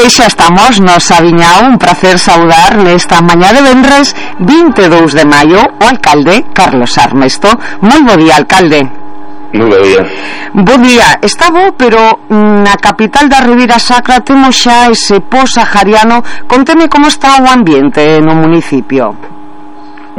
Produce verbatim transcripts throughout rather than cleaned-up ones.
xa estamos no Sabiñao, un placer saudar nesta mañá de venres vinte e dous de maio o alcalde Carlos Armesto. Moi bo día, alcalde. Moi bo día. Bo día, está bo, pero na capital da Ribeira Sacra temos xa ese po-sahariano. Conteme como está o ambiente no municipio.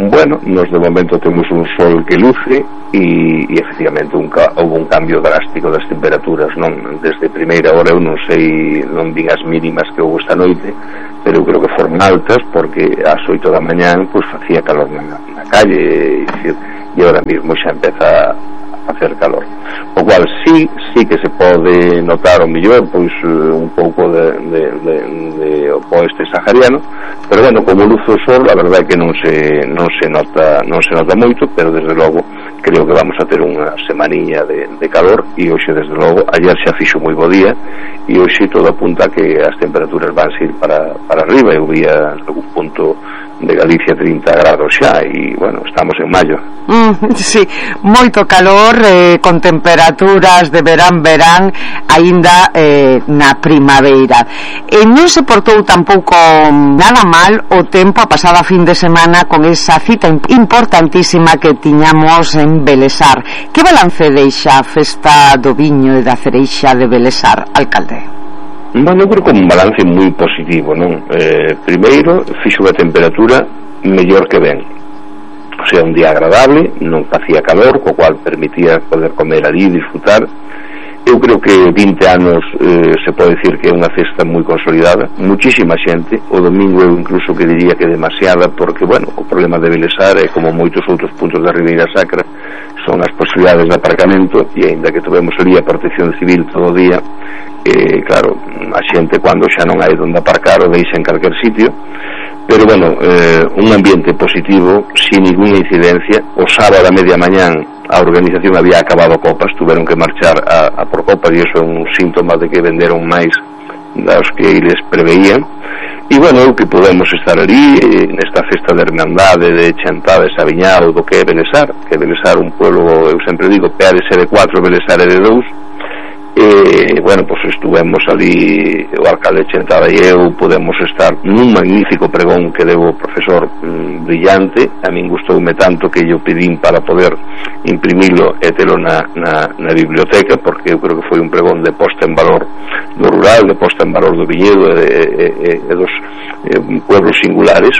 Bueno, nos de momento temos un sol que luce e, e efectivamente un, houve un cambio drástico das temperaturas, non? Desde primeira hora eu non sei, non vin as mínimas que houve esta noite, pero eu creo que foron altas porque ás oito da mañán pois facía calor na, na calle e, e agora mesmo xa empeza a facer calor, o cual sí, sí que se pode notar o mellor pois un pouco de, de, de, de o oeste sahariano, pero bueno, como luz o sol, a verdade é que non se non se nota non se nota moito, pero desde logo creo que vamos a ter unha semaniña de, de calor e hoxe desde logo, ayer xa fixo moi bo día e hoxe todo apunta que as temperaturas van ir para, para arriba. Eu vía algún punto de Galicia trinta grados xa e, bueno, estamos en maio. Mm, sí, moito calor, eh, con temperaturas de verán, verán, aínda eh, na primaveira. E non se portou tampouco nada mal o tempo a pasada fin de semana con esa cita importantísima que tiñamos en Belesar. Que balance deixa a festa do viño e da cereixa de Belesar, alcalde? Bueno, eu creo que un balance moi positivo, non? Eh, primeiro, fixo a temperatura mellor que ben, o sea, un día agradable, non facía calor, co cual permitía poder comer ali e disfrutar. Eu creo que vinte anos eh, se pode dicir que é unha festa moi consolidada, muchísima xente. O domingo eu incluso que diría que demasiada, porque, bueno, o problema de Belesar é como moitos outros puntos da Ribeira Sacra, son as posibilidades de aparcamento, e aínda que tuvemos ali a protección civil todo o día, eh, claro, a xente cando xa non hai onde aparcar o deixa en calquer sitio, pero bueno, eh, un ambiente positivo, sin ninguna incidencia. O sábado a media mañán a organización había acabado copas, tuveron que marchar a, a por copas e iso é un síntoma de que venderon máis das que eles preveían. E bueno, eu que podemos estar ali eh, nesta festa de hermandade, de chantada de Sabiñao, do que é Belesar, que Belesar un pueblo, eu sempre digo, pea de ser de cuatro, Belesar é de dous. E, bueno, pois pues estuvemos ali o alcalde Chantada e eu, podemos estar nun magnífico pregón que deu o profesor mmm, brillante. A min gustoume tanto que yo pedín para poder imprimilo e telo na, na, na biblioteca, porque eu creo que foi un pregón de posta en valor do rural, de posta en valor do viñedo e, e, e, e dos e, pueblos singulares.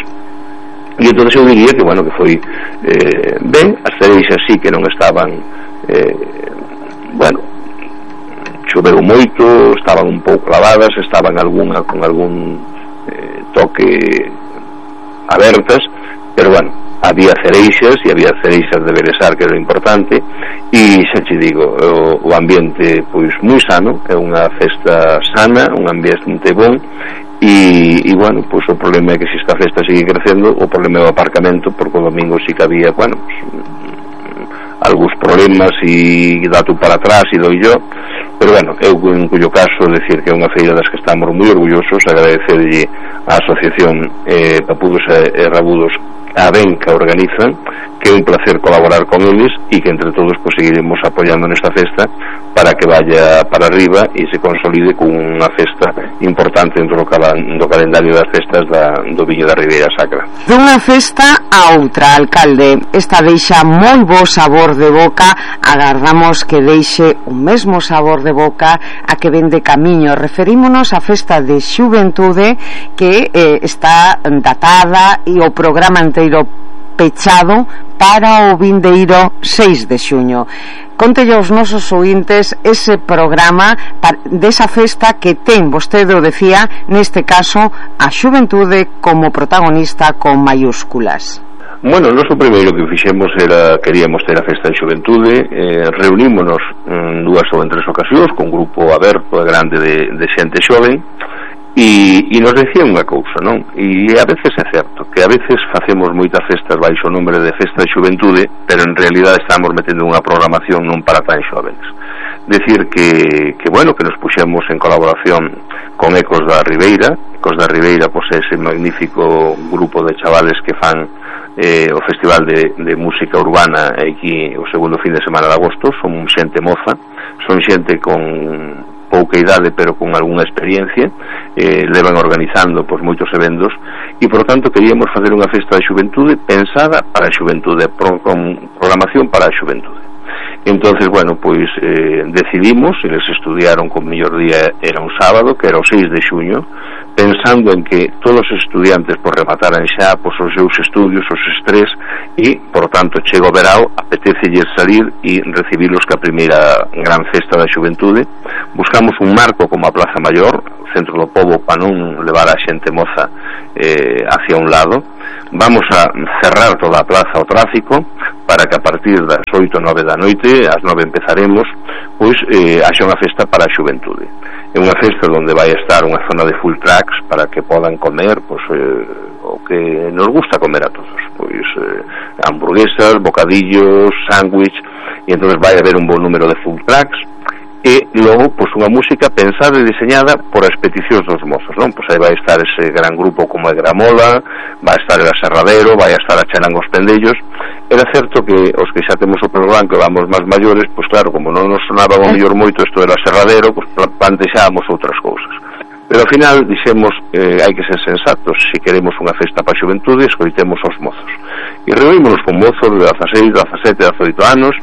E entón eu diría que, bueno, que foi eh, ben. As cereixas sí que non estaban eh, bueno, choveu moito, estaban un pouco lavadas, estaban alguna con algún eh, toque abertas, pero bueno, había cereixas e había cereixas de Belesar, que era importante. E xa te digo, o, o ambiente pois moi sano, é unha festa sana, un ambiente bon. E, e bueno, pois o problema é que se esta festa sigue crecendo, o problema é o aparcamento, porque o domingo sí que había, bueno, algúns problemas e dato para atrás e doi yo, pero bueno, eu en cuyo caso decir que é unha feira das que estamos moi orgullosos, agradecerlle á asociación eh, Papudos e Rabudos a ben que organizan, que é un placer colaborar con eles e que entre todos pues, seguiremos apoyando nesta festa para que vaya para arriba e se consolide con unha festa importante dentro do, cal do calendario das festas da, do Viño da Ribeira Sacra. Dunha festa a outra, alcalde, esta deixa moi bo sabor de boca, agardamos que deixe o mesmo sabor de boca a que ven de camiño. Referímonos á festa de xuventude que eh, está datada e o programa inteiro pechado para o vindeiro seis de xuño. Contelle aos nosos ointes ese programa desa festa que ten, vostede o decía, neste caso a xuventude como protagonista con mayúsculas. Bueno, nós o primeiro que fixemos era, queríamos ter a festa de xuventude, eh, reunímonos en dúas ou en tres ocasións con un grupo aberto e grande de, de xente xoven. E, e nos decía unha cousa, non? E a veces é certo que a veces facemos moitas festas baixo o nombre de festa de xuventude, pero en realidad estamos metendo unha programación non para tan xóvenes. Decir que, que bueno, que nos puxemos en colaboración con Ecos da Ribeira. Ecos da Ribeira, pois ese magnífico grupo de chavales que fan eh, o Festival de, de Música Urbana aquí o segundo fin de semana de agosto. Son xente moza, son xente con pouca idade pero con algunha experiencia, eh, levan organizando pois moitos eventos, e por tanto queríamos facer unha festa da xuventude pensada para a xuventude, pro, con programación para a xuventude. Entonces, bueno, pois eh, decidimos, e les estudiaron con mellor día era un sábado, que era o seis de xuño, pensando en que todos os estudiantes por remataran xa pois, os seus estudios, os estrés, e, por tanto, chega o verao, apetecelles salir e recibilos ca primeira gran festa da xuventude. Buscamos un marco como a Plaza Maior, centro do pobo, para non levar a xente moza eh, hacia un lado. Vamos a cerrar toda a plaza ao tráfico para que a partir das oito, nove da noite, ás nove empezaremos, pois eh, haxa unha festa para a xuventude. É unha festa onde vai estar unha zona de full tracks para que podan comer pois, eh, o que nos gusta comer a todos, pois eh, hamburguesas, bocadillos, sándwich, e entón vai haber un bon número de full tracks, e logo pois unha música pensada e diseñada por as peticións dos mozos, non? Pois aí vai estar ese gran grupo como é Gramola, vai estar el Aserradero, vai estar a Charangos Pendellos. Era certo que os que xa temos o programa, que vamos máis maiores, pois claro, como non nos sonaba o mellor moito isto del Aserradero, pois plantexábamos outras cousas. Pero ao final dixemos eh, hai que ser sensatos, se queremos unha festa para a xuventude, escoitemos os mozos. E reunimos con mozos de dezaseis, dezasete, dezaoito anos,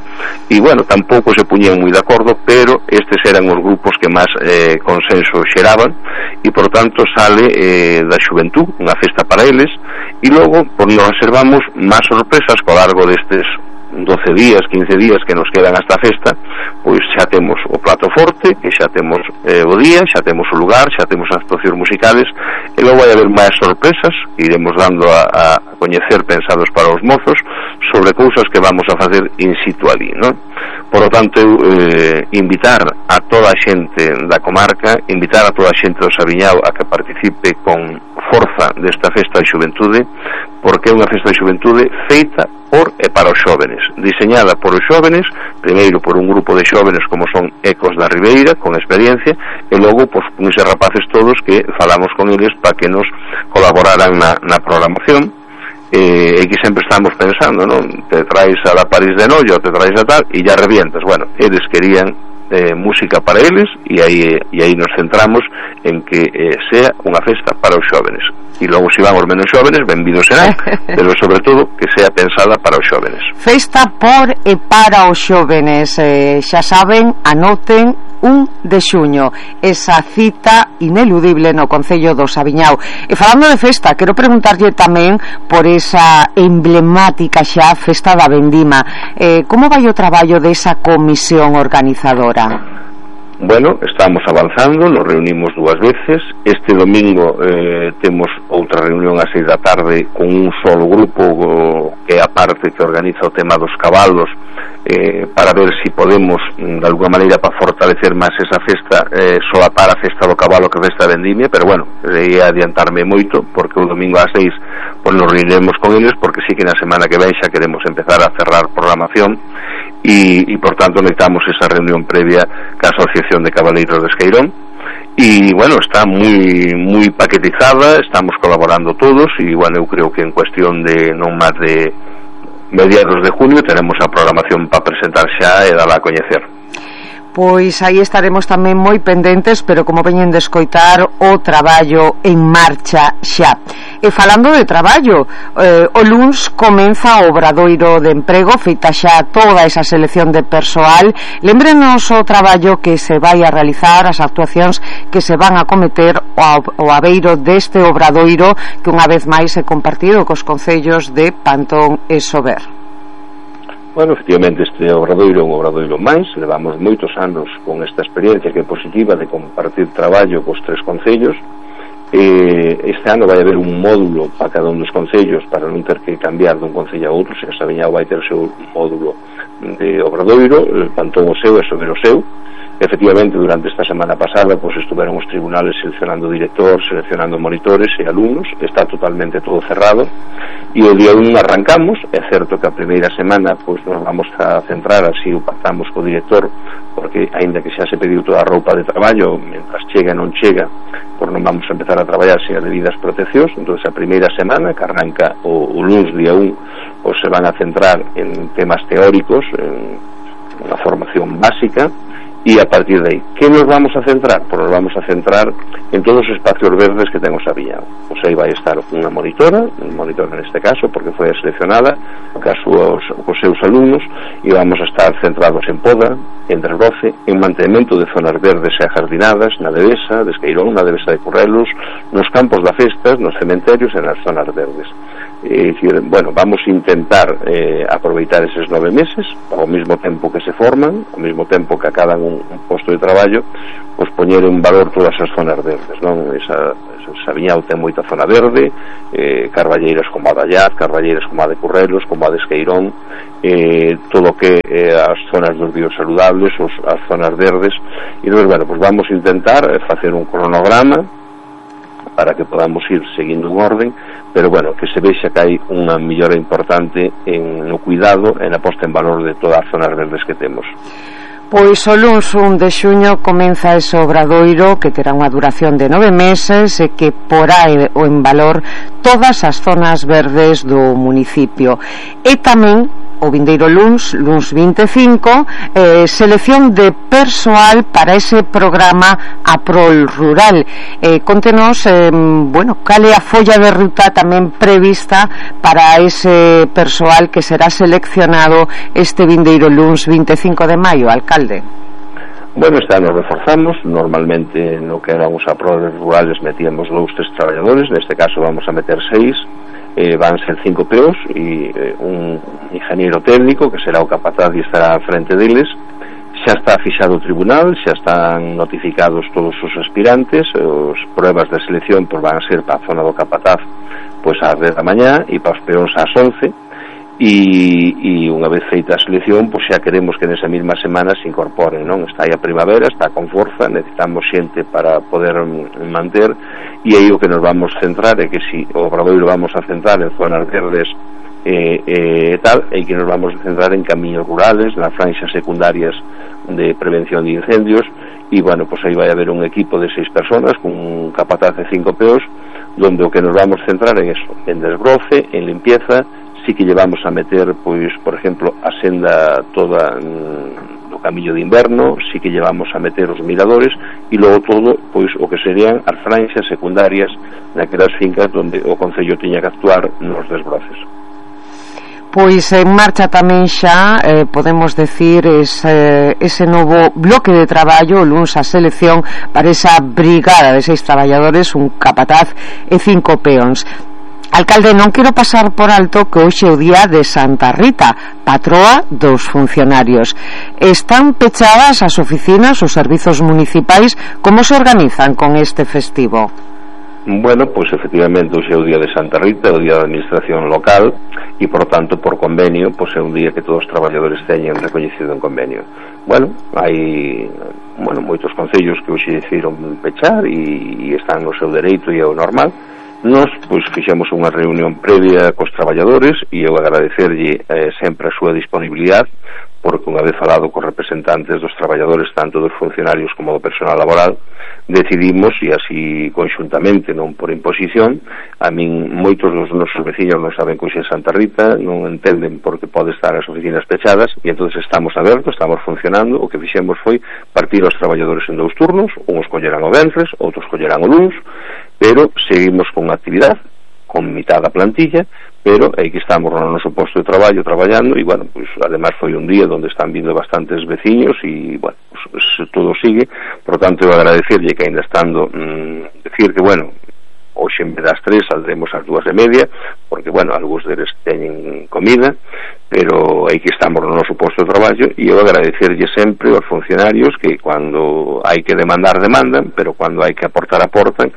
e bueno, tampouco se puñían moi de acordo, pero estes eran os grupos que máis eh, consenso xeraban, e por tanto sale eh, da xuventude, unha festa para eles, e logo pues, nos reservamos máis sorpresas co largo destes doce días, quince días que nos quedan hasta a festa, pois xa temos o plato forte, que xa temos eh, o día, xa temos o lugar, xa temos as actuacións musicales, e logo vai haber máis sorpresas que iremos dando a, a coñecer pensados para os mozos sobre cousas que vamos a facer in situ ali, non? Por lo tanto, eu eh, invitar a toda a xente da comarca, invitar a toda a xente do Sabiñao a que participe con forza desta festa de xuventude, porque é unha festa de xuventude feita por e para os xóvenes, diseñada por os xóvenes, primeiro por un grupo de xóvenes como son Ecos da Ribeira, con experiencia, e logo pois, con eses rapaces todos que falamos con eles para que nos colaboraran na, na programación, e, e que sempre estamos pensando, non? Te traes a la París de Noia, te traes a tal, e ya revientas. Bueno, eles querían eh, música para eles, e aí, e aí nos centramos en que eh, sea unha festa para os xóvenes. E logo se vamos menos xóvenes, benvidos serán, pero sobre todo que sea pensada para os xóvenes. Festa por e para os xóvenes, eh, xa saben, anoten un de xuño, esa cita ineludible no Concello do Sabiñao. E falando de festa, quero preguntarlle tamén por esa emblemática xa festa da Vendima. Eh, como vai o traballo desa comisión organizadora? Bueno, estamos avanzando, nos reunimos dúas veces. Este domingo eh, temos outra reunión ás seis da tarde con un solo grupo o, que é a parte que organiza o tema dos cabalos, eh, para ver se si podemos de alguna maneira para fortalecer máis esa festa, eh, solapar a festa do cabalo que a festa da vendimia, pero bueno, ia adiantarme moito porque o domingo ás seis pues, nos reuniremos con eles, porque sí que na semana que ven xa queremos empezar a cerrar programación. Y, y por tanto necesitamos esa reunión previa ca Asociación de Cabaleiros de Esqueirón, y bueno, está muy muy paquetizada, estamos colaborando todos, y bueno, eu creo que en cuestión de non máis de mediados de junio tenemos a programación para presentar xa e dala a coñecer. Pois aí estaremos tamén moi pendentes, pero como veñen de escoitar, o traballo en marcha xa. E falando de traballo, eh, o luns comeza o obradoiro de emprego, feita xa toda esa selección de persoal. Lémbrenos o traballo que se vai a realizar, as actuacións que se van a cometer ao, ao abeiro deste obradoiro, que unha vez máis é compartido cos concellos de Pantón e Sober. Bueno, efectivamente este obradoiro é un obradoiro máis, levamos moitos anos con esta experiencia que é positiva de compartir traballo cos tres concellos. E este ano vai haber un módulo para cada un dos concellos para non ter que cambiar dun concello a outro, se a Sabiñao vai ter o seu módulo de obradoiro, el Pantón o seu e Sober o seu. Efectivamente, durante esta semana pasada pues, estuveron os tribunales seleccionando director, seleccionando monitores e alumnos, está totalmente todo cerrado, e o día un arrancamos. É certo que a primeira semana pues, nos vamos a centrar, así o pactamos co director, porque aínda que xa se pediu toda a roupa de traballo, mentras chega e non chega, pues non vamos a empezar a traballar sin as debidas proteccións. Entón a primeira semana, que arranca o, o luns día un, pues, se van a centrar en temas teóricos, en unha formación básica, e a partir de aí, que nos vamos a centrar? Pois nos vamos a centrar en todos os espacios verdes que ten o Sabiñao. Pois aí vai estar unha monitora, unha monitora neste caso, porque foi seleccionada ca súas, cos seus alumnos, e vamos a estar centrados en poda, en desbroce, en mantenimento de zonas verdes e jardinadas, na Devesa de Esqueirón, na Devesa de Currelos, nos campos da Festas, nos cementerios e nas zonas verdes. É dicir, bueno, vamos a intentar eh, aproveitar eses nove meses ao mesmo tempo que se forman, ao mesmo tempo que acadan un, un posto de traballo, pois poñer en valor todas as zonas verdes, non? Esa, esa Sabiñao ten moita zona verde, eh, carballeiras como a da Allaz, carballeiras como a de Currelos, como a de Esqueirón, eh, todo o que eh, as zonas dos biosaludables, os, as zonas verdes, e entón, bueno, pois vamos a intentar facer un cronograma para que podamos ir seguindo un orden, pero bueno, que se vexa que hai unha mellora importante en no cuidado e na posta en valor de todas as zonas verdes que temos. Pois o luns un de xuño comeza ese obradoiro que terá unha duración de nove meses e que porá o en valor todas as zonas verdes do municipio. E tamén o vindeiro luns, luns vinte e cinco, eh, selección de persoal para ese programa Aprol Rural. Eh, contenos, eh, bueno, cal é a folla de ruta tamén prevista para ese persoal que será seleccionado este vindeiro luns vinte e cinco de maio, alcalde? Bueno, este ano reforzamos, normalmente no que eran os aproles rurales metíamos dous, tres traballadores, neste caso vamos a meter seis, eh, van ser cinco peos e eh, un ingeniero técnico que será o capataz e estará á frente deles. Xa está fixado o tribunal, xa están notificados todos os aspirantes, os pruebas de selección pois van a ser para a zona do capataz pois ás dez da mañá e para os peóns ás once, e, e unha vez feita a selección pois xa queremos que nesa mesma semana se incorporen, non? Está aí a primavera, está con forza, necesitamos xente para poder manter, e aí o que nos vamos centrar é que si o obradoiro vamos a centrar en zonas verdes e eh, eh, tal, e que nos vamos a centrar en camiños rurales, nas franxas secundarias de prevención de incendios, e bueno, pois aí vai haber un equipo de seis personas con un capataz de cinco peos, donde o que nos vamos a centrar en eso, en desbroce, en limpieza. Sí que llevamos a meter, pois, por exemplo, a senda toda mm, do camiño de inverno, sí que llevamos a meter os miradores, e logo todo, pois, o que serían as franxas secundarias naquelas fincas onde o Concello tiña que actuar nos desbroces. Pois en marcha tamén xa, eh, podemos decir, ese, ese novo bloque de traballo, luns a selección para esa brigada de seis traballadores, un capataz e cinco peóns. Alcalde, non quero pasar por alto que hoxe é o día de Santa Rita, patroa dos funcionarios. Están pechadas as oficinas, os servizos municipais. Como se organizan con este festivo? Bueno, pois efectivamente hoxe é o día de Santa Rita, o día da administración local, e por tanto por convenio pois é un día que todos os traballadores teñen recoñecido en convenio. Bueno, hai bueno, moitos concellos que hoxe decidiron pechar e, e están no seu dereito e é o normal. Nos, pois, fixemos unha reunión previa cos traballadores e eu agradecerlle eh, sempre a súa disponibilidade, porque unha vez falado cos representantes dos traballadores, tanto dos funcionarios como do personal laboral, decidimos, e así conxuntamente, non por imposición, a min moitos dos nosos veciños non saben que hoxe é Santa Rita, non entenden por que pode estar as oficinas pechadas, e entonces estamos abertos, estamos funcionando. O que fixemos foi partir os traballadores en dous turnos, uns collerán o venres, outros collerán o luns, pero seguimos con actividade, con mitad da plantilla, pero aí que estamos no noso posto de traballo traballando, e bueno, pues además foi un día onde están vindo bastantes veciños e bueno, pues, todo sigue. Por tanto, eu agradecerlle que ainda estando mmm, decir que bueno, hoxe en vez das tres saldremos ás dúas e media, porque bueno, algúns deles teñen comida, pero aí que estamos no noso posto de traballo, e eu agradecerlle sempre aos funcionarios que cando hai que demandar demandan, pero cando hai que aportar aportan.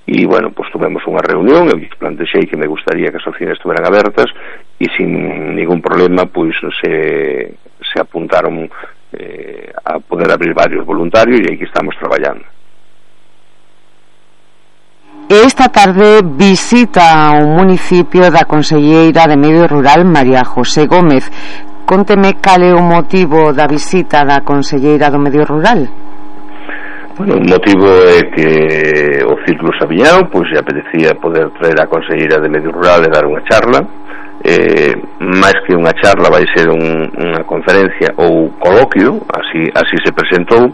E, bueno, pues tuvemos unha reunión, eu plantexei que me gustaría que as oficinas estuveran abertas e sin ningún problema, pois se, se apuntaron eh, a poder abrir varios voluntarios e aí que estamos traballando. Esta tarde visita o municipio da conselleira de Medio Rural, María José Gómez. Conteme cal é o motivo da visita da conselleira do Medio Rural. Bueno, o motivo é que o Círculo Saviñao, pois se apetecía poder traer a conselleira de Medio Rural e dar unha charla. Eh, máis que unha charla vai ser un, unha conferencia ou coloquio, así, así se presentou,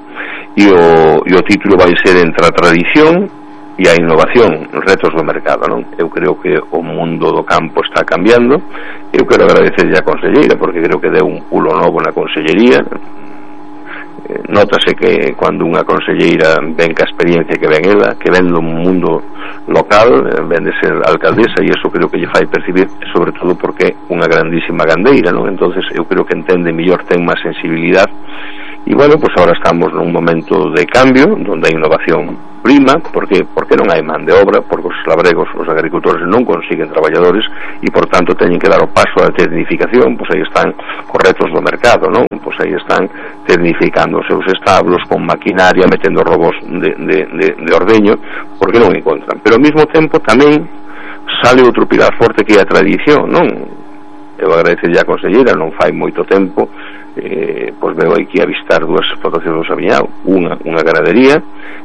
e o, e o título vai ser Entre a tradición e a innovación, retos do mercado, non? Eu creo que o mundo do campo está cambiando. Eu quero agradecerlle a conselleira porque creo que deu un pulo novo na consellería. Nótase que cando unha conselleira ven ca experiencia que ven ela, que ven do mundo local, ven de ser alcaldesa, e iso creo que lle fai percibir, sobre todo porque é unha grandísima gandeira, non? Entonces eu creo que entende mellor, ten máis sensibilidade. E bueno, pues ahora estamos nun momento de cambio onde a innovación prima, porque porque non hai man de obra, porque os labregos, os agricultores non consiguen traballadores e por tanto teñen que dar o paso á tecnificación. Pois aí están correctos do mercado, non? Pois aí están tecnificando os seus establos con maquinaria, metendo robos de, de, de, de ordeño, porque non encontran. Pero ao mesmo tempo tamén sale outro pilar forte que é a tradición, non? Eu agradecerlle a conselleira, non fai moito tempo, eh, pois veo aquí a visitar dúas explotacións do Saviñao, unha, unha ganadería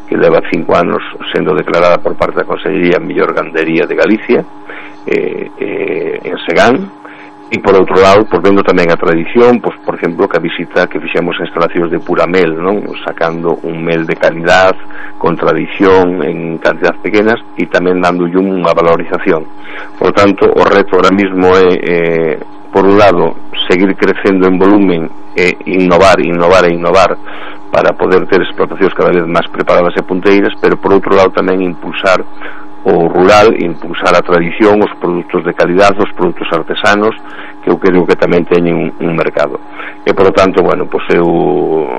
que leva cinco anos sendo declarada por parte da consellería a mellor gandería de Galicia, eh, eh, en Segán. E por outro lado, pois vendo tamén a tradición, pois por exemplo, que a visita que fixemos a instalacións de pura mel, non? Sacando un mel de calidad, con tradición, en cantidades pequenas, e tamén dándolle unha valorización. Por tanto, o reto ahora mismo é, eh, por un lado, seguir crecendo en volumen e innovar, innovar e innovar para poder ter explotacións cada vez máis preparadas e punteiras, pero por outro lado tamén impulsar o rural, impulsar a tradición, os produtos de calidad, os produtos artesanos, que eu creo que tamén teñen un, un mercado. E, por lo tanto, bueno, pois eu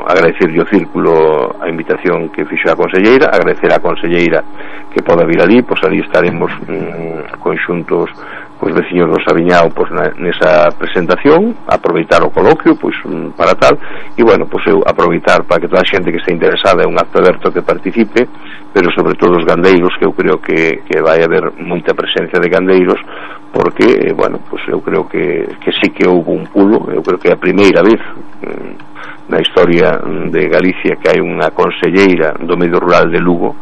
agradecerlle o Círculo a invitación que fixo a conselleira, agradecer a conselleira que poda vir ali, pois ali estaremos mm, conxuntos os veciños do Saviñao pois, na, nesa presentación, aproveitar o coloquio pois, para tal, e bueno, pois eu aproveitar para que toda a xente que este interesada, é un acto aberto que participe, pero sobre todo os gandeiros, que eu creo que, que vai haber moita presencia de gandeiros, porque, eh, bueno, pois eu creo que, que sí que houve un pulo, eu creo que é a primeira vez eh, na historia de Galicia que hai unha conselleira do medio rural de Lugo,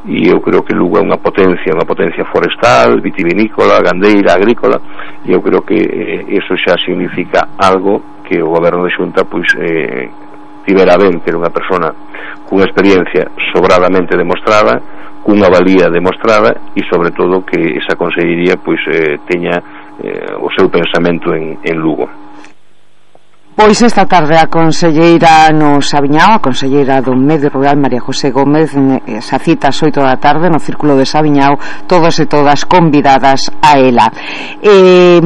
e eu creo que Lugo é unha potencia, unha potencia forestal, vitivinícola, gandeira, agrícola, e eu creo que eh, eso xa significa algo que o goberno de Xunta pois eh, tivera ben ter unha persona cunha experiencia sobradamente demostrada, cunha valía demostrada, e sobre todo que esa consellería pois eh, teña eh, o seu pensamento en, en Lugo. Pois esta tarde a conselleira no Saviñao, a conselleira do Medio Rural, María José Gómez, esa cita ás oito da tarde no Círculo de Saviñao, todos e todas convidadas a ela. Eh,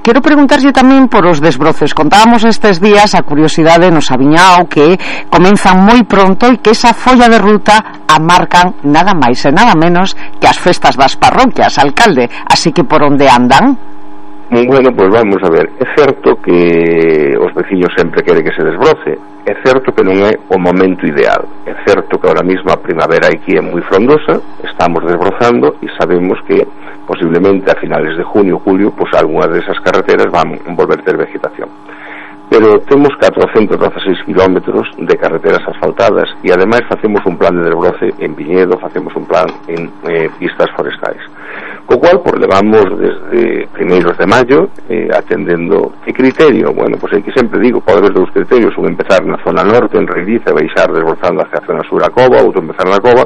quero preguntarlle tamén por os desbroces. Contábamos estes días a curiosidade no Saviñao que comenzan moi pronto e que esa folla de ruta a marcan nada máis e nada menos que as festas das parroquias, alcalde. Así que por onde andan? Bueno, pois vamos a ver, é certo que os veciños sempre queren que se desbroce, é certo que non é o momento ideal, é certo que ahora mesmo a primavera aquí é moi frondosa, estamos desbrozando e sabemos que posiblemente a finales de junio, julio, pois algunhas desas carreteras van volver ter vegetación. Pero temos catrocentos dezaseis kilómetros de carreteras asfaltadas e ademais facemos un plan de desbroce en viñedo, facemos un plan en eh, pistas forestais. Co cual, por levamos desde primeiros de maio eh, atendendo que criterio. Bueno, pois pues, que sempre digo, pode haber dous criterios, un empezar na zona norte, en Reiliza, e baixar desbrozando hacia a zona sur a Cova, outro empezar na Cova,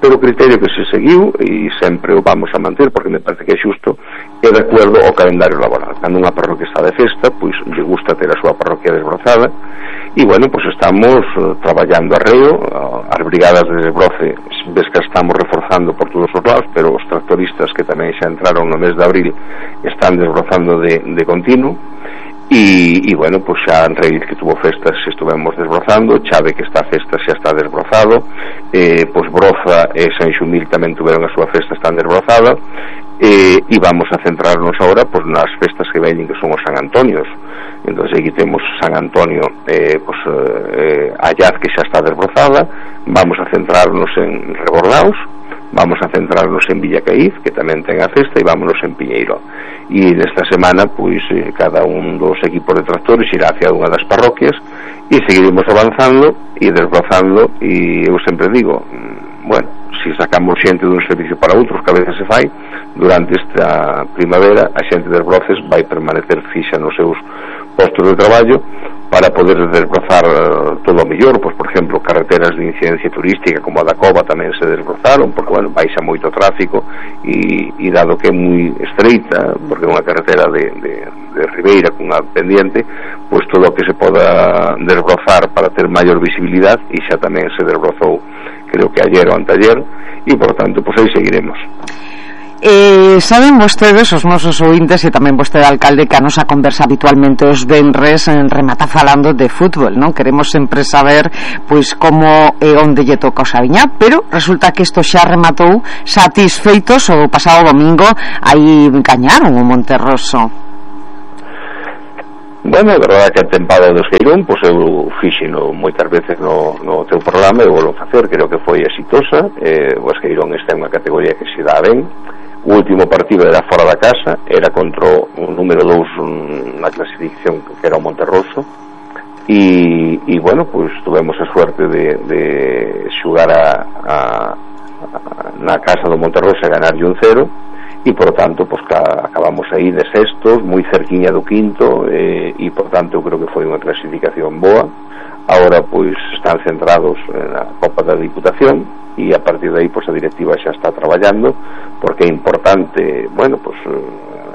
pero o criterio que se seguiu, e sempre o vamos a manter, porque me parece que é xusto, é de acordo ao calendario laboral. Cando unha parroquia está de festa, pois lle gusta ter a súa parroquia desbrozada, e bueno, pois estamos uh, traballando arreo, uh, as brigadas de desbroce, ves que estamos reforzando por todos os lados, pero os tractoristas que tamén xa entraron no mes de abril están desbrozando de, de continuo, e, e bueno, pois xa en Reil que tuvo festas estuvemos desbrozando, Chave que está a festa xa está desbrozado, eh, pois Broza e San Xumil tamén tuveron a súa festa, están desbrozada, eh, e vamos a centrarnos agora pois, nas festas que veñen, que son os San Antonios. Entón aquí temos San Antonio, eh, pois, eh, Allaz que xa está desbrozada, vamos a centrarnos en Rebordaos, vamos a centrarnos en Villacaíz, que tamén ten a festa, e vámonos en Piñeiro. E nesta semana, pois, eh, cada un dos equipos de tractores irá hacia unha das parroquias, e seguiremos avanzando e desbrozando, e eu sempre digo, bueno, se sacamos xente dun servicio para outros, que a veces se fai, durante esta primavera a xente das Broces vai permanecer fixa nos seus postos de traballo para poder desbrozar todo o mellor. Pois, por exemplo, carreteras de incidencia turística como a da Cova tamén se desbrozaron, porque, bueno, baixa moito tráfico e, e dado que é moi estreita, porque é unha carretera de, de, de ribeira cunha pendiente, pois todo o que se poda desbrozar para ter maior visibilidade, e xa tamén se desbrozou, creo que ayer ou anteayer, e, por tanto, pois aí seguiremos. Eh, saben vostedes, os nosos ointes, e tamén vostede, alcalde, que a nosa conversa habitualmente os venres en remata falando de fútbol, non? Queremos sempre saber pois como e onde lle toca o Sabiñá, pero resulta que isto xa rematou satisfeitos o pasado domingo, aí gañaron o Monterroso. Bueno, a verdade é que a tempada do Esqueirón, pois eu fixeno moitas veces no, no teu programa, e volvo a facer, creo que foi exitosa. eh, o Esqueirón está en unha categoría que se dá ben. O último partido era fora da casa, era contra o número dous na clasificación, que era o Monterroso, e, e bueno, pois tuvemos a suerte de, de xugar a, a, a, na casa do Monterroso e ganarlle un cero, e por tanto pois ca, acabamos aí de sextos, moi cerquiña do quinto, e, e por tanto eu creo que foi unha clasificación boa. Agora pois están centrados na Copa da Diputación, e a partir de aí pois a directiva xa está traballando, porque é importante. Bueno, pois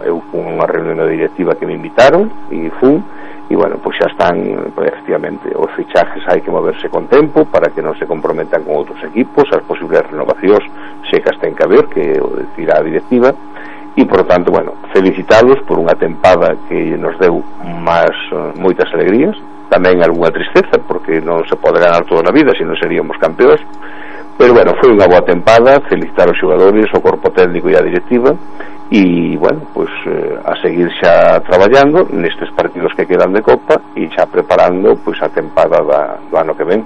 eu fui unha reunión da directiva que me invitaron e fun, e bueno, pois xa están, pois, efectivamente, os fichajes hai que moverse con tempo para que non se comprometan con outros equipos, as posibles renovacións se que as ten que haber, que o decida a directiva, e por tanto, bueno, felicitalos por unha tempada que nos deu máis moitas alegrías, tamén algunha tristeza, porque non se pode ganar toda na vida, senón seríamos campeóns. Pero bueno, foi unha boa tempada, felicitar os xogadores, o corpo técnico e a directiva, e bueno, pois eh, a seguir xa traballando nestes partidos que quedan de Copa e xa preparando pois a tempada da, do ano que ven.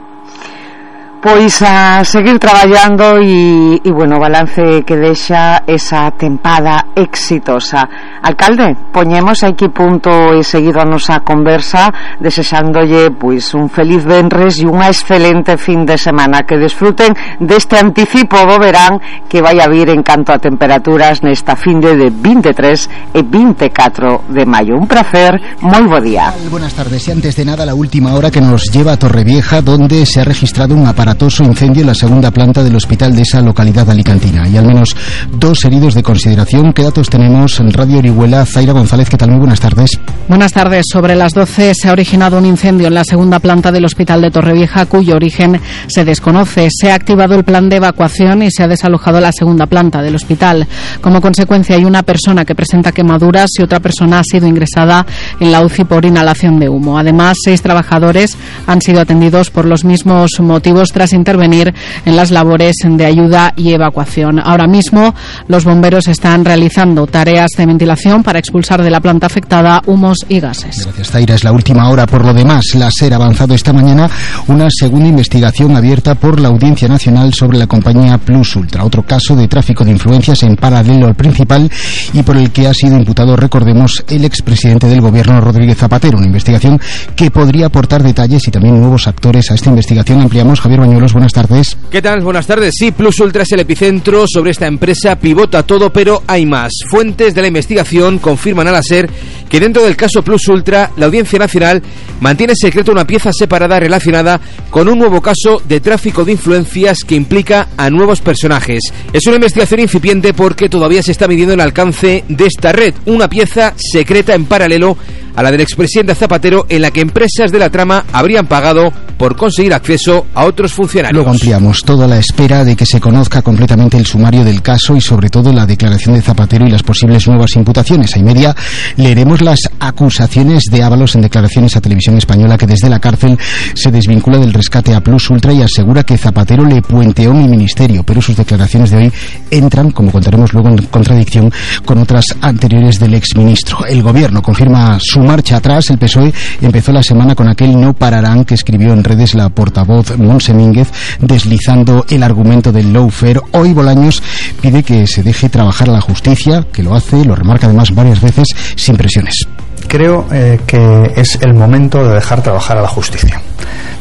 Pois a seguir traballando e, e bueno, balance que deixa esa tempada exitosa. Alcalde, poñemos aquí punto e seguido a nosa conversa, desexándolle pois un feliz venres e unha excelente fin de semana, que desfruten deste anticipo do verán que vai a vir en canto a temperaturas nesta finde de veintitrés e veinticuatro de maio. Un placer, moi bo día. Buenas tardes, y antes de nada la última hora que nos lleva a Torrevieja, donde se ha registrado un aparato incendio en la segunda planta del hospital de esa localidad alicantina y al menos dos heridos de consideración. ¿Qué datos tenemos en Radio Orihuela? Zaira González, ¿qué tal? Muy buenas tardes. Buenas tardes. Sobre las doce se ha originado un incendio en la segunda planta del hospital de Torrevieja, cuyo origen se desconoce. Se ha activado el plan de evacuación y se ha desalojado la segunda planta del hospital. Como consecuencia, hay una persona que presenta quemaduras y otra persona ha sido ingresada en la U C I por inhalación de humo. Además, seis trabajadores han sido atendidos por los mismos motivos tras intervenir en las labores de ayuda y evacuación. Ahora mismo los bomberos están realizando tareas de ventilación para expulsar de la planta afectada humos y gases. Gracias, Zaira. Es la última hora. Por lo demás, la SER ha avanzado esta mañana una segunda investigación abierta por la Audiencia Nacional sobre la compañía Plus Ultra, otro caso de tráfico de influencias en paralelo al principal y por el que ha sido imputado, recordemos, el expresidente del gobierno, Rodríguez Zapatero. Una investigación que podría aportar detalles y también nuevos actores a esta investigación. Ampliamos. Javier Bañuelos, buenas tardes. ¿Qué tal? Buenas tardes. Sí, Plus Ultra es el epicentro. Sobre esta empresa pivota todo, pero hay más. Fuentes de la investigación confirman a la SER que dentro del caso Plus Ultra, la Audiencia Nacional mantiene secreto una pieza separada relacionada con un nuevo caso de tráfico de influencias que implica a nuevos personajes. Es una investigación incipiente porque todavía se está midiendo el alcance de esta red, una pieza secreta en paralelo a la del expresidente Zapatero, en la que empresas de la trama habrían pagado por conseguir acceso a otros funcionarios. Luego ampliamos, todo a la espera de que se conozca completamente el sumario del caso y sobre todo la declaración de Zapatero y las posibles nuevas imputaciones. A y media leeremos las acusaciones de Ábalos en declaraciones a Televisión Española, que desde la cárcel se desvincula del rescate a Plus Ultra y asegura que Zapatero le puenteó mi ministerio, pero sus declaraciones de hoy entran, como contaremos luego, en contradicción con otras anteriores del exministro. El gobierno confirma su marcha atrás. El P S O E empezó la semana con aquel no pararán que escribió en redes la portavoz Montse Mínguez, deslizando el argumento del lawfare. Hoy Bolaños pide que se deje trabajar a la justicia, que lo hace, lo remarca además varias veces, sin presiones. Creo eh, que es el momento de dejar trabajar a la justicia.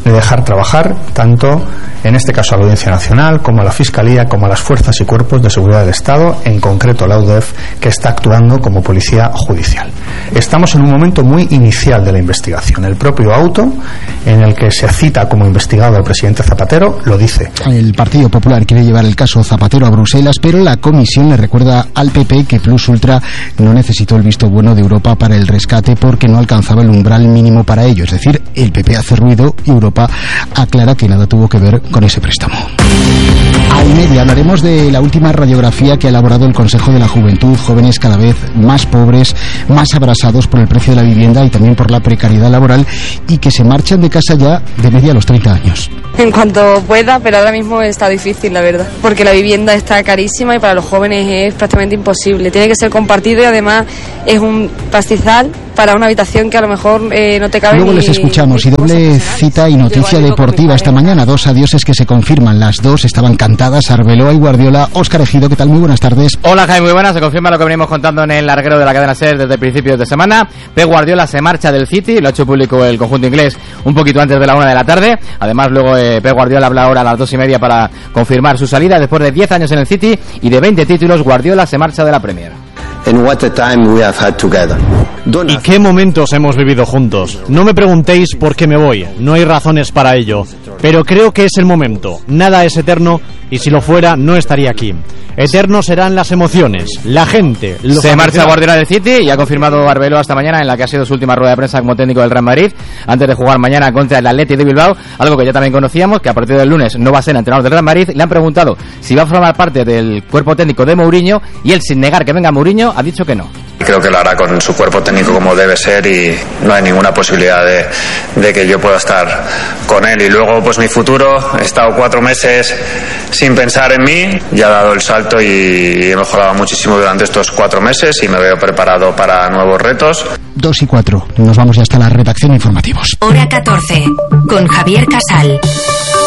de dejar trabajar tanto, en este caso, a la Audiencia Nacional, como a la Fiscalía, como a las fuerzas y cuerpos de seguridad del Estado, en concreto la U D E F, que está actuando como policía judicial. Estamos en un momento muy inicial de la investigación. El propio auto, en el que se cita como investigado al presidente Zapatero, lo dice. El Partido Popular quiere llevar el caso Zapatero a Bruselas, pero la Comisión le recuerda al P P que Plus Ultra no necesitó el visto bueno de Europa para el rescate porque no alcanzaba el umbral mínimo para ello. Es decir, el P P hace ruido y Europa aclara que nada tuvo que ver con ese préstamo. A y media hablaremos de la última radiografía que ha elaborado el Consejo de la Juventud, jóvenes cada vez más pobres, más abrasados por el precio de la vivienda y también por la precariedad laboral y que se marchan de casa ya de media a los treinta años. En cuanto pueda, pero ahora mismo está difícil, la verdad, porque la vivienda está carísima y para los jóvenes es prácticamente imposible. Tiene que ser compartido y además es un pastizal para una habitación que a lo mejor eh, no te cabe. Luego ni, les escuchamos y doble cita y noticia deportiva esta mañana. Dos adioses que se confirman. Las dos estaban cantadas, Arbeloa y Guardiola. Óscar Ejido, ¿qué tal? Muy buenas tardes. Hola Jaime, muy buenas. Se confirma lo que venimos contando en el larguero de la cadena SER desde principios de semana. Pep Guardiola se marcha del City, lo ha hecho público el conjunto inglés un poquito antes de la una de la tarde. Además luego eh, Pep Guardiola habla ahora a las dos y media para confirmar su salida. Después de diez años en el City y de veinte títulos, Guardiola se marcha de la Premier. And what a time we have had together. ¿Y qué momentos hemos vivido juntos? No me preguntéis por qué me voy, no hay razones para ello, pero creo que es el momento. Nada es eterno y si lo fuera no estaría aquí. Eternos serán las emociones, la gente. Se marcha Guardiola del City y ha confirmado Arbeloa esta mañana en la que ha sido su última rueda de prensa como técnico del Real Madrid antes de jugar mañana contra el Athletic de Bilbao, algo que ya también conocíamos, que a partir del lunes no va a ser entrenador del Real Madrid. Le han preguntado si va a formar parte del cuerpo técnico de Mourinho y él, sin negar que venga Mourinho, ha dicho que no. Creo que lo hará con su cuerpo técnico como debe ser y no hay ninguna posibilidad de, de que yo pueda estar con él. Y luego pues mi futuro, he estado cuatro meses sin pensar en mí, ya he dado el salto y he mejorado muchísimo durante estos cuatro meses y me veo preparado para nuevos retos. Dos y cuatro, nos vamos ya hasta la redacción de informativos. Hora catorce, con Javier Casal.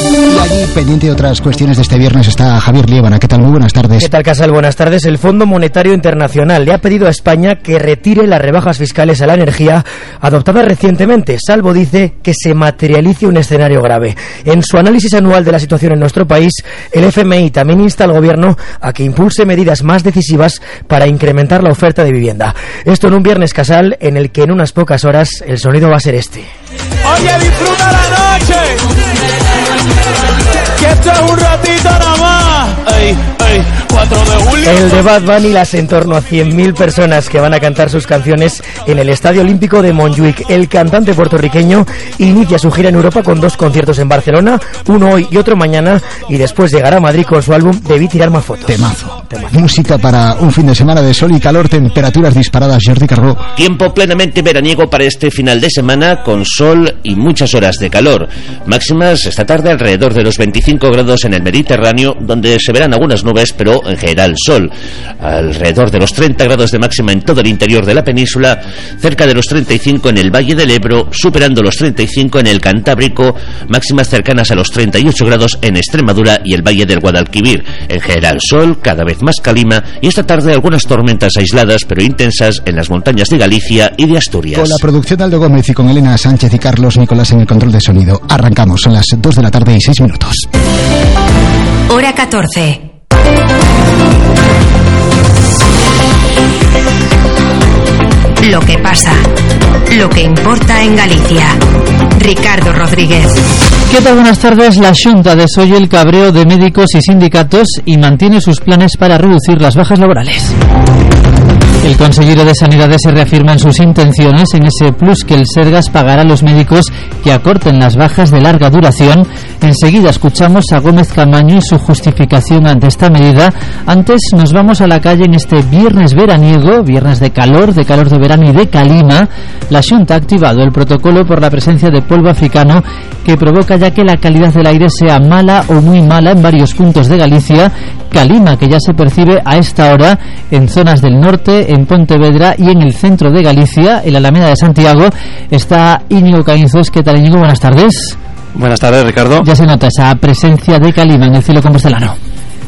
Y allí, pendiente de otras cuestiones de este viernes, está Javier Liébana. ¿Qué tal? Muy buenas tardes. ¿Qué tal, Casal? Buenas tardes. El Fondo Monetario Internacional le ha pedido a España que retire las rebajas fiscales a la energía adoptadas recientemente, salvo, dice, que se materialice un escenario grave. En su análisis anual de la situación en nuestro país, el F M I también insta al Gobierno a que impulse medidas más decisivas para incrementar la oferta de vivienda. Esto en un viernes, Casal, en el que en unas pocas horas el sonido va a ser este. Oye, disfruta la noche, que esto es un ratito nada más. Ey, ey, cuatro de julio. El de Bad Bunny, las en torno a cien mil personas que van a cantar sus canciones en el Estadio Olímpico de Montjuic. El cantante puertorriqueño inicia su gira en Europa con dos conciertos en Barcelona, uno hoy y otro mañana, y después llegará a Madrid con su álbum Debí tirar más fotos. Temazo. Temazo. Música para un fin de semana de sol y calor, temperaturas disparadas. Jordi Cargó. Tiempo plenamente veraniego para este final de semana, con sol y muchas horas de calor. Máximas esta tarde alrededor de los veinticinco grados en el Mediterráneo, donde se verán algunas nubes, pero en general sol. Alrededor de los treinta grados de máxima en todo el interior de la península, cerca de los treinta y cinco en el Valle del Ebro, superando los treinta y cinco en el Cantábrico, máximas cercanas a los treinta y ocho grados en Extremadura y el Valle del Guadalquivir. En general sol, cada vez más calima, y esta tarde algunas tormentas aisladas pero intensas en las montañas de Galicia y de Asturias. Con la producción de Aldo Gómez y con Elena Sánchez y Carlos Nicolás en el control de sonido. Arrancamos, son las dos de la tarde y seis minutos. Hora catorce. Lo que pasa, lo que importa en Galicia. Ricardo Rodríguez. ¿Qué tal? Buenas tardes. La Xunta desoye el cabreo de médicos y sindicatos y mantiene sus planes para reducir las bajas laborales. El consejero de Sanidades se reafirma en sus intenciones en ese plus que el Sergas pagará a los médicos que acorten las bajas de larga duración. Enseguida escuchamos a Gómez Camaño y su justificación ante esta medida. Antes nos vamos a la calle en este viernes veraniego, viernes de calor, de calor de verano y de calima. La Xunta ha activado el protocolo por la presencia de polvo africano que provoca ya que la calidad del aire sea mala o muy mala en varios puntos de Galicia. Calima que ya se percibe a esta hora en zonas del norte, en Pontevedra y en el centro de Galicia, en la Alameda de Santiago. Está Íñigo Caínzos. ¿Qué tal, Íñigo? Buenas tardes. Buenas tardes, Ricardo. Ya se nota esa presencia de calima en el cielo compostelano.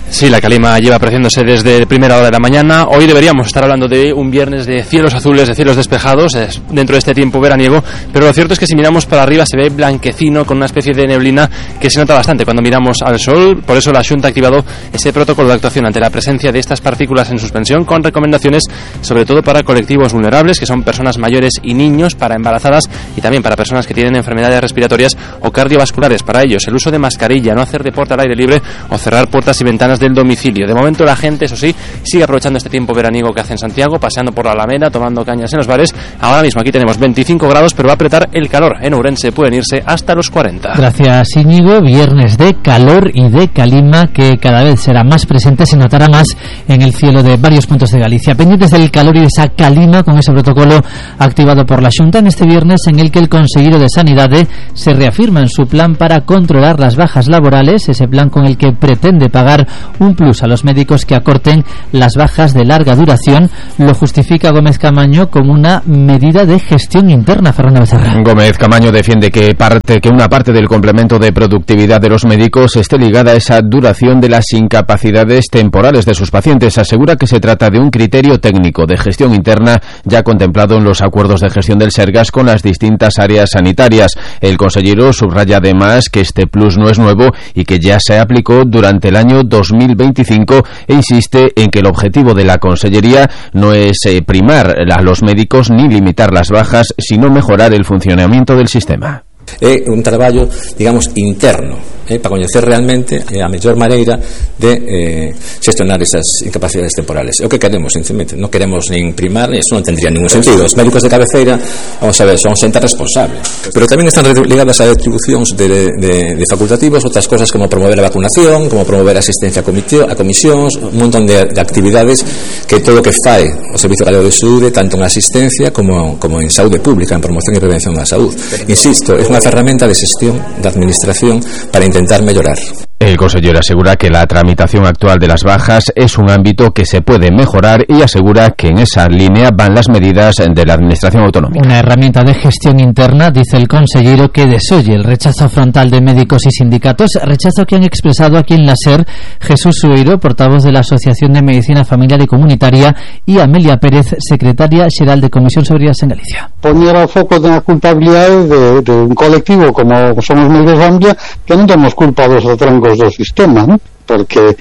Sí, la calima lleva apreciándose desde primera hora de la mañana. Hoy deberíamos estar hablando de un viernes de cielos azules, de cielos despejados, dentro de este tiempo veraniego, pero lo cierto es que si miramos para arriba se ve blanquecino con una especie de neblina que se nota bastante cuando miramos al sol. Por eso la Xunta ha activado ese protocolo de actuación ante la presencia de estas partículas en suspensión, con recomendaciones sobre todo para colectivos vulnerables, que son personas mayores y niños, para embarazadas y también para personas que tienen enfermedades respiratorias o cardiovasculares. Para ellos, el uso de mascarilla, no hacer deporte al aire libre o cerrar puertas y ventanas del domicilio. De momento la gente, eso sí, sigue aprovechando este tiempo veraniego que hace en Santiago, paseando por la Alameda, tomando cañas en los bares. Ahora mismo aquí tenemos veinticinco grados, pero va a apretar el calor. En Ourense pueden irse hasta los cuarenta. Gracias, Íñigo. Viernes de calor y de calima que cada vez será más presente, se notará más en el cielo de varios puntos de Galicia. Pendientes del calor y de esa calima con ese protocolo activado por la Xunta en este viernes, en el que el consejero de Sanidade se reafirma en su plan para controlar las bajas laborales, ese plan con el que pretende pagar un plus a los médicos que acorten las bajas de larga duración. Lo justifica Gómez Camaño como una medida de gestión interna. Fernando Becerra. Gómez Camaño defiende que parte que una parte del complemento de productividad de los médicos esté ligada a esa duración de las incapacidades temporales de sus pacientes. Asegura que se trata de un criterio técnico de gestión interna ya contemplado en los acuerdos de gestión del Sergas con las distintas áreas sanitarias. El consejero subraya además que este plus no es nuevo y que ya se aplicó durante el año dos mil veinticinco e insiste en que el objetivo de la Consellería no es eh, primar a los médicos ni limitar las bajas, sino mejorar el funcionamiento del sistema. É un traballo, digamos, interno, eh, para coñecer realmente eh, a mellor maneira de eh, xestionar esas incapacidades temporales. É o que queremos, sinceramente. Non queremos nin primar, eso non tendría ningún sentido. Os médicos de cabeceira, vamos a ver, son xente responsable. Pero tamén están ligadas a atribucións de, de, de facultativos, outras cosas como promover a vacunación, como promover a asistencia a, comiteo, a comisións, un montón de, de actividades que todo o que fai o Servicio Galego de Saúde, tanto en asistencia como, como en saúde pública, en promoción e prevención da saúde. Insisto, é unha ferramenta de xestión da administración para intentar mellorar. El consejero asegura que la tramitación actual de las bajas es un ámbito que se puede mejorar y asegura que en esa línea van las medidas de la administración autonómica. Una herramienta de gestión interna, dice el consejero, que desoye el rechazo frontal de médicos y sindicatos, rechazo que han expresado aquí en la SER Jesús Sueiro, portavoz de la Asociación de Medicina Familiar y Comunitaria, y Amelia Pérez, secretaria xeral de Comisión sobre en Galicia. Poner o foco na culpabilidade de, de un colectivo como somos Médicos Gambia, que non temos culpa dos troncos do sistema, ¿no? Porque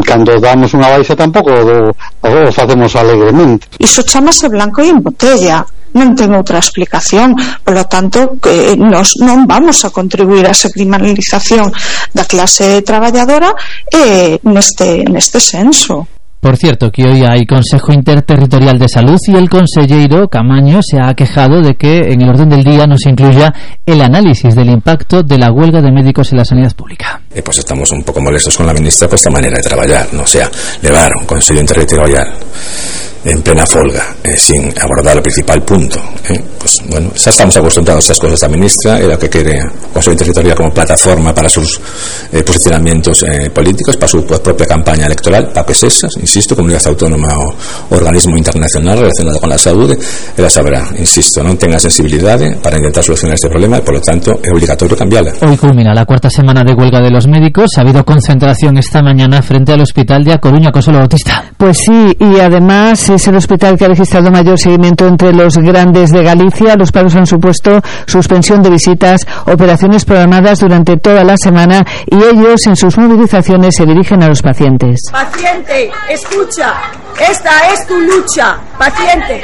cando damos unha baixa tampouco o, o facemos alegremente. Iso chamase blanco e en botella, non ten outra explicación. Por lo tanto, que nos non vamos a contribuir a esa criminalización da clase traballadora eh, neste, neste senso. Por cierto, que hoy hay Consejo Interterritorial de Salud y el consejero Camaño se ha quejado de que en el orden del día no se incluya el análisis del impacto de la huelga de médicos en la sanidad pública. Eh, pues estamos un poco molestos con la ministra por esta manera de trabajar, ¿no? O sea, levar un Consejo Interterritorial en plena folga, eh, sin abordar el principal punto, eh, pues bueno, ya estamos acostumbrados a estas cosas. La ministra era que quiere Consejo Interterritorial como plataforma para sus eh, posicionamientos eh, políticos, para su pues, propia campaña electoral, para que esas, insisto, comunidad autónoma o organismo internacional relacionado con la salud, ella sabrá, insisto, non tenga sensibilidad para intentar solucionar este problema y por lo tanto es obligatorio cambiarla. Hoy culmina la cuarta semana de huelga de los médicos. Ha habido concentración esta mañana frente al hospital de A Coruña, Consuelo Bautista. Pues sí, y además es el hospital que ha registrado mayor seguimiento entre los grandes de Galicia. Los paros han supuesto suspensión de visitas, operaciones programadas durante toda la semana y ellos en sus movilizaciones se dirigen a los pacientes. Paciente, escucha, esta es tu lucha, paciente.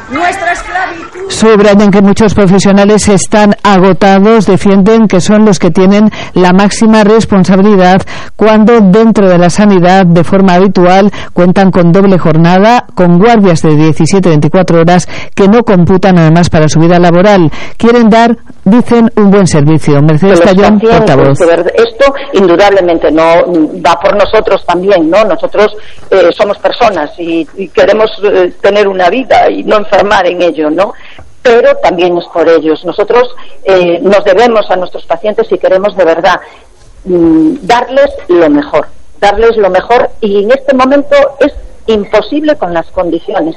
Nuestra esclavitud. Subrayan que muchos profesionales están agotados, defienden que son los que tienen la máxima responsabilidad cuando dentro de la sanidad de forma habitual cuentan con doble jornada, con guardias de diecisiete a veinticuatro horas que no computan además para su vida laboral. Quieren dar, dicen, un buen servicio. Mercedes Tallón, portavoz. Esto indudablemente no va por nosotros también, ¿no? Nosotros eh, somos personas y, y queremos eh, tener una vida y no enfermar en ello, ¿no? Pero también es por ellos. Nosotros eh, nos debemos a nuestros pacientes y queremos de verdad mmm, darles lo mejor, darles lo mejor y en este momento es imposible con las condiciones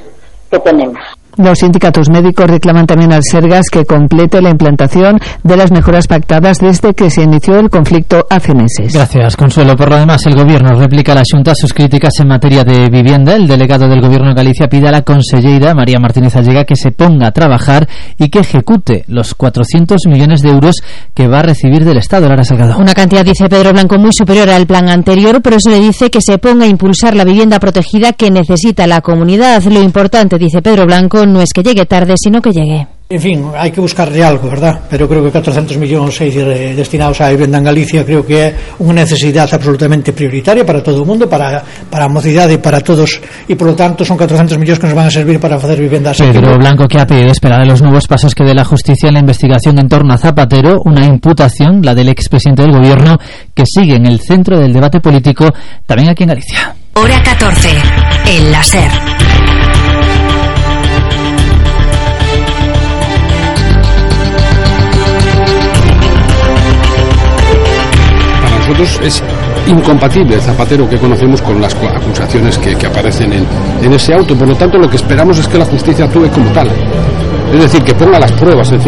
que tenemos. Los sindicatos médicos reclaman también al Sergas que complete la implantación de las mejoras pactadas desde que se inició el conflicto hace meses. Gracias, Consuelo. Por lo demás, el Gobierno replica a la Xunta sus críticas en materia de vivienda. El delegado del Gobierno en Galicia pide a la conselleira María Martínez Allega que se ponga a trabajar y que ejecute los cuatrocientos millones de euros que va a recibir del Estado. Lara Salgado. Una cantidad, dice Pedro Blanco, muy superior al plan anterior, por eso le dice que se ponga a impulsar la vivienda protegida que necesita la comunidad. Lo importante, dice Pedro Blanco, no es que llegue tarde, sino que llegue. En fin, hai que buscarle algo, verdad? Pero creo que catrocentos millóns eh, destinados á vivenda en Galicia creo que é unha necesidade absolutamente prioritaria para todo o mundo, para, para a mocidade e para todos, e por lo tanto son catrocentos millóns que nos van a servir para facer vivendas. Pedro Blanco, que ha pedido esperar a los nuevos pasos que dé la justicia en la investigación en torno a Zapatero, una imputación, la del expresidente del Gobierno, que sigue en el centro del debate político también aquí en Galicia. Hora catorce, en la SER. Nosotros es incompatible el Zapatero que conocemos con las acusaciones que, que aparecen en, en ese auto. Por lo tanto, lo que esperamos es que la justicia actúe como tal. Es decir, que ponga las pruebas encima.